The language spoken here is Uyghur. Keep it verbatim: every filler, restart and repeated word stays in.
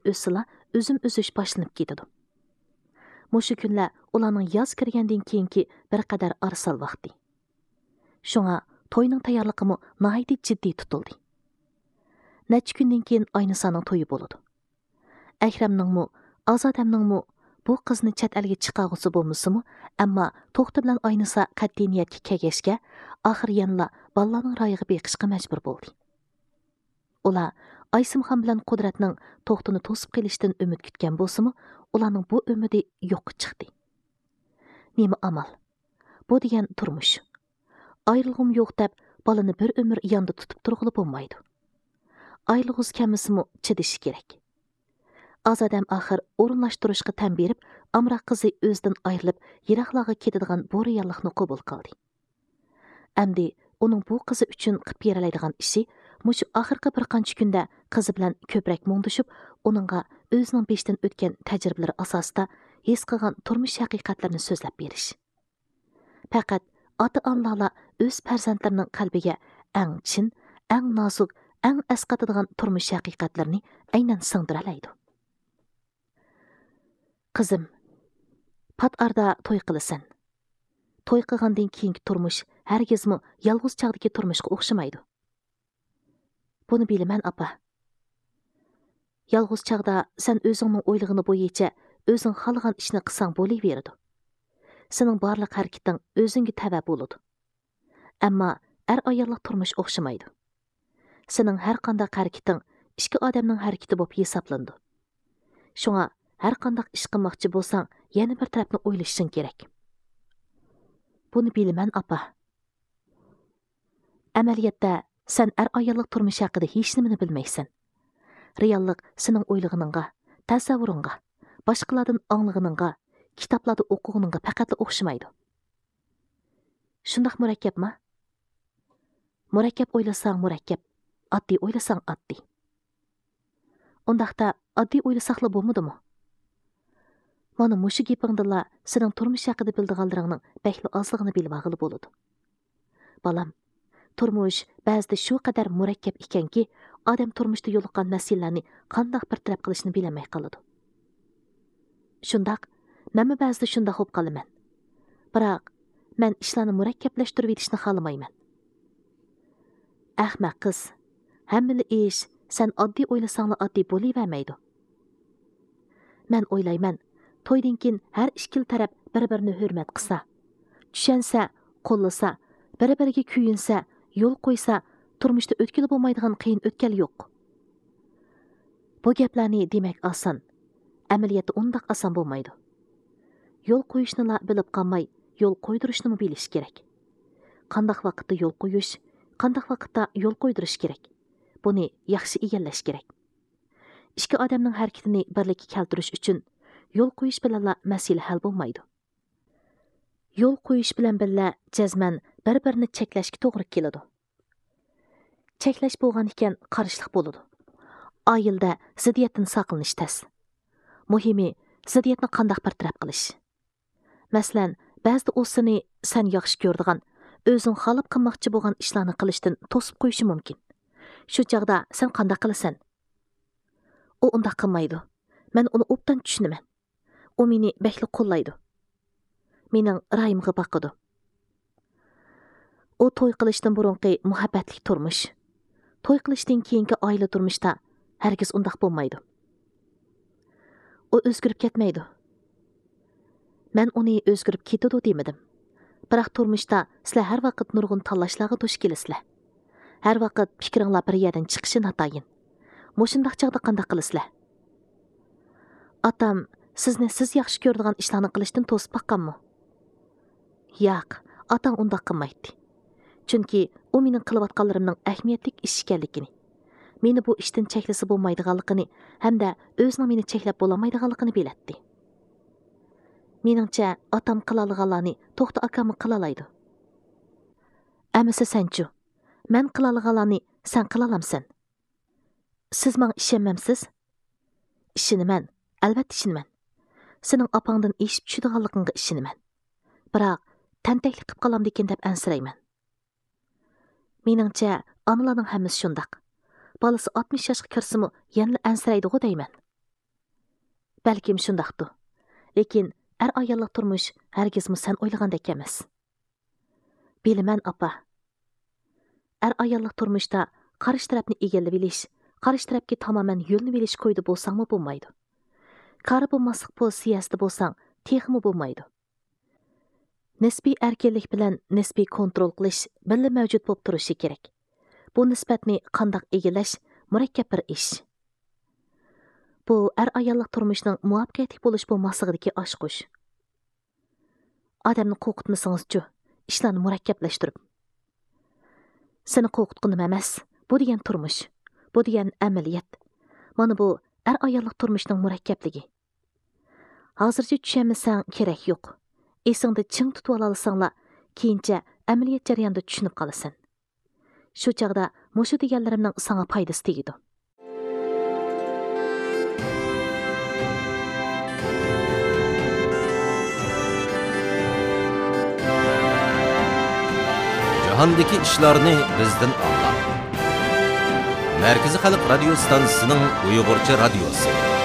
ئۆتسىلا، ئۈزۈم ئۈزۈش باشلىنىپ كېتىدۇ. مۇشۇ كۈنلەر ئۇلارنىڭ ياز كىرگەندىن كېيىنكى بىر قەدەر ئارىسال ۋاقتى. شۇڭا توينىڭ تەييارلىقىمۇ ناھايىتى جىددىي تۇتۇلدى. نەچچە كۈندىن كېيىن ئاينىسانىڭ تويى بولىدۇ. ئەكرەمنىڭمۇ، ئازادەمنىڭمۇ بۇ قىزنى چەت ئەلگە چىقارغۇسى بولمىسىمۇ، ئەمما توختى بىلەن ئاينىسا قەتئىي نىيەتكە كەلگەچكە، ئاخىر يەنىلا بالىلارنىڭ رايىغا بېقىشقا مەجبۇر بولدى. ئۇلار ئايسىمخان بىلەن قۇدرەتنىڭ توختىنى توسۇپ قېلىشىدىن ئۈمىد كۈتكەن بولسىمۇ، ئۇلارنىڭ بۇ ئۈمىدى يوققا چىقتى. نېمە ئامال؟ بۇ دېگەن تۇرمۇش. ئايرىلغۇم يوق دەپ، بالىنى بىر ئۆمۈر ياندا تۇتۇپ تۇرغىلى بولمايدۇ. ئايرىلغۇسى كەلمىسىمۇ چىدىشى كېرەك. ئازادەم ئاخىر ئورۇنلاشتۇرۇشقا تەن بېرىپ، ئامراق قىزى ئۆزىدىن ئايرىلىپ، يىراقلارغا كېتىدىغان بۇ رېئاللىقنى قوبۇل قىلدى. ئەمدى ئۇنىڭ بۇ قىزى ئۈچۈن قىلىپ بېرەلەيدىغان ئىشى مۇشۇ ئاخىرقى بىر قانچە كۈندە قىزى بىلەن كۆپرەك مۇڭدىشىپ، ئۇنىڭغا ئۆزىنىڭ بېشىدىن ئۆتكەن تەجرىبىلىرى ئاساسىدا ھېس قىلغان تۇرمۇش ھەقىقەتلىرىنى سۆزلەپ بېرىش. پەقەت ئاتا-ئانىلارلا ئۆز پەرزەنتلىرىنىڭ قەلبىگە ئەڭ چىن، ئەڭ نازۇك، ئەڭ ئەسقاتىدىغان تۇرمۇش ھەقىقەتلىرىنى ئەينەن سىڭدۈرەلەيدۇ. قىزىم، پات ئارىدا توي قىلىسەن. توي قىلغاندىن كېيىنكى تۇرمۇش ھەرگىزمۇ يالغۇز چاغدىكى تۇرمۇشقا ئوخشىمايدۇ. بۇنى بىلىمەن، ئاپا. يالغۇز چاغدا سەن ئۆزۈڭنىڭ ئويلىغىنى بويىچە ئۆزۈڭ خالىغان ئىشنى قىلساڭ بولۇۋېرىدۇ. سېنىڭ بارلىق ھەرىكىتىڭ ئۆزۈڭگە تەۋە بولىدۇ. ئەمما ئەر-ئاياللىق تۇرمۇش ئوخشىمايدۇ. سېنىڭ ھەر قانداق ھەرىكىتىڭ ئىككى ئادەمنىڭ ھەرىكىتى بولۇپ ھېسابلىنىدۇ. شۇڭا ھەر قانداق ئىش قىلماقچى بولساڭ، يەنە بىر تەرەپنى ئويلىشىشىڭ كېرەك. بۇنى بىلىمەن، ئاپا. ئەمەلىيەتتە، سەن ئەر-ئاياللىق تۇرمۇش ھەققىدە ھېچنېمىنى بىلمەيسەن. رېئاللىق سېنىڭ ئويلىغىنىڭغا، تەسەۋۋۇرۇڭغا، باشقىلاردىن ئاڭلىغىنىڭغا، كىتابلاردا ئوقۇغىنىڭغا پەقەتلا ئوخشىمايدۇ. شۇنداق مۇرەككەپما؟ مۇرەككەپ ئويلىساڭ مۇرەككەپ، ئاددىي ئويلىساڭ ئاددىي. ئۇنداقتا ئاددىي ئويلىساقلا بولمىدىمۇ؟ مانا مۇشۇ گېپىڭدىنلا سېنىڭ تۇرمۇش ھەققىدە بىلىدىغانلىرىڭنىڭ بەكلا ئازلىقىنى بىلىۋالغىلى بولىدۇ. بالام، تۇرمۇش بەزىدە شۇ قەدەر مۇرەككەپ ئىكەنكى، ئادەم تۇرمۇشتا يولۇققان مەسىلىلەرنى قانداق بىر تەرەپ قىلىشنى بىلەلمەي قالىدۇ. شۇنداق، مەنمۇ بەزىدە شۇنداق بولۇپ قالىمەن. بىراق، مەن ئىشلارنى مۇرەككەپلەشتۈرۈۋېتىشنى خالىمايمەن. ئەخمەق قىز، ھەممىلا ئىش سەن ئاددىي ئويلىساڭلا ئاددىي بولۇۋەرمەيدۇ. مەن ئويلايمەن، تويدىن كېيىن ھەر ئىككىلا تەرەپ بىر-بىرىنى ھۆرمەت قىلسا، چۈشەنسە، قوللىسا، بىر-بىرىگە كۆيۈنسە، يول قويسا، تۇرمۇشتا ئۆتكىلى بولمايدىغان قىيىن ئۆتكەل يوق. بۇ گەپلەرنى دېمەك ئاسان، ئەمەلىيەتتە ئۇنداق ئاسان بولمايدۇ. يول قويۇشنىلا بىلىپ قالماي، يول قويدۇرۇشنىمۇ بىلىش كېرەك. قانداق ۋاقىتتا يول قويۇش، قانداق ۋاقىتتا يول قويدۇرۇش كېرەك، بۇنى ياخشى ئىگىلەش كېرەك. ئىككى ئادەمنىڭ ھەرىكىتىنى بىرلىككە كەلتۈرۈش ئۈچۈن يول قويۇش بىلەنلا مەسىلە ھەل بولمايدۇ. يول قويۇش بىلەن بىللە جەزمەن بىر-بىرىنى چەكلەشكە توغرا كېلىدۇ. چەكلەش بولغان ئىكەن قارشىلىق بولىدۇ. ئائىلىدە زىددىيەتتىن ساقلىنىش تەس. مۇھىمى، زىددىيەتنى قانداق بىر تەرەپ قىلىش. مەسىلەن، بەزىدە ئۇ سېنى سەن ياخشى كۆرىدىغان، ئۆزۈڭ خالاپ قىلماقچى بولغان ئىشلارنى قىلىشتىن توسۇپ قويۇشى مۇمكىن. شۇ چاغدا سەن قانداق قىلىسەن؟ ئۇ ئۇنداق قىلمايدۇ. مەن ئۇنى ئوبدان چۈشىنىمەن. ئۇ مېنى بەكلا قوللايدۇ. مېنىڭ رايىمغا باقىدۇ. ئۇ توي قىلىشتىن بۇرۇنقى مۇھەببەتلىك تۇرمۇش، توي قىلىشتىن كېيىنكى ئائىلە تۇرمۇشتا ھەرگىز ئۇنداق بولمايدۇ. ئۇ ئۆزگىرىپ كەتمەيدۇ. مەن ئۇنى ئۆزگىرىپ كېتىدۇ دېمىدىم. بىراق تۇرمۇشتا سىلەر ھەر ۋاقىت نۇرغۇن تاللاشلارغا دۇچ كېلىسىلەر. ھەر ۋاقىت پىكرىڭلار بىر يەردىن چىقىشى ناتايىن. مۇشۇنداق چاغدا قانداق قىلىسىلەر؟ ئاتام سىزنى سىز ياخشى كۆرىدىغان ئىشلارنى قىلىشتىن توسۇپ باققانمۇ؟ ياق، ئاتاڭ ئۇنداق قىلمايتتى. چۈنكى ئۇ مېنىڭ قىلىۋاتقانلىرىمنىڭ ئەھمىيەتلىك ئىش ئىكەنلىكىنى، مېنى بۇ ئىشتىن چەكلىسە بولمايدىغانلىقىنى ھەمدە ئۆزىنىڭ مېنى چەكلەپ بولالمايدىغانلىقىنى بىلەتتى. مېنىڭچە، ئاتام قىلالىغانلارنى توختى ئاكاممۇ قىلالايدۇ. ئەمىسە سەنچۇ؟ مەن قىلالىغانلارنى سەن قىلالامسەن؟ سىز ماڭا ئىشەنمەمسىز؟ ئىشىنىمەن، ئەلۋەتتە ئىشىنىمەن. سېنىڭ ئاپاڭدىن ئېشىپ چۈشىدىغانلىقىڭغا ئىشىنىمەن. بىراق، تەنتەكلىك قىلىپ قالامدىكىن دەپ ئەنسىرەيمەن. مېنىڭچە، ئانىلارنىڭ ھەممىسى شۇنداق. بالىسى ئاتمىش ياشقا كىرسىمۇ يەنىلا ئەنسىرەيدىغۇ دەيمەن. بەلكىم شۇنداقتۇ. لېكىن ئەر-ئاياللىق تۇرمۇش ھەرگىزمۇ سەن ئويلىغاندەك ئەمەس. بىلىمەن، ئاپا. ئەر-ئاياللىق تۇرمۇشتا قارشى تەرەپنى ئىگىلىۋېلىش، قارشى تەرەپكە تامامەن يۆلىنىۋېلىش كويىدا بولساڭمۇ بولمايدۇ. كارى بولماسلىق پوزىتسىيەسىدە بولساڭ، تېخىمۇ بولمايدۇ. نىسپىي ئەركىنلىك بىلەن نىسپىي كونترول قىلىش بىللە مەۋجۇت بولۇپ تۇرۇشى كېرەك. بۇ نىسبەتنى قانداق ئىگىلەش مۇرەككەپ بىر ئىش. بۇ ئەر-ئاياللىق تۇرمۇشنىڭ مۇۋەپپەقىيەتلىك بولۇش بولماسلىقىدىكى ئاچقۇچ. ئادەمنى قورقۇتمىسىڭىزچۇ، ئىشلارنى مۇرەككەپلەشتۈرۈپ. سېنى قورقۇتقىنىم ئەمەس، بۇ دېگەن تۇرمۇش، بۇ دېگەن ئەمەلىيەت. مانا بۇ ئەر-ئاياللىق تۇرمۇشنىڭ مۇرەككەپلىكى. ھازىرچە چۈشەنمىسەڭ كېرەك يوق. ئېسىڭدە چىڭ تۇتۇۋالالىساڭلا، كېيىنچە ئەمەلىيەت جەريانىدا چۈشىنىپ قالىسەن. شۇ چاغدا مۇشۇ دېگەنلىرىمنىڭ ساڭا پايدىسى تېگىدۇ. جاھاندىكى ئىشلارنى بىزدىن ئاڭلاڭ. مەركىزىي خەلق رادىيو ستانسىسىنىڭ ئۇيغۇرچە رادىيوسى.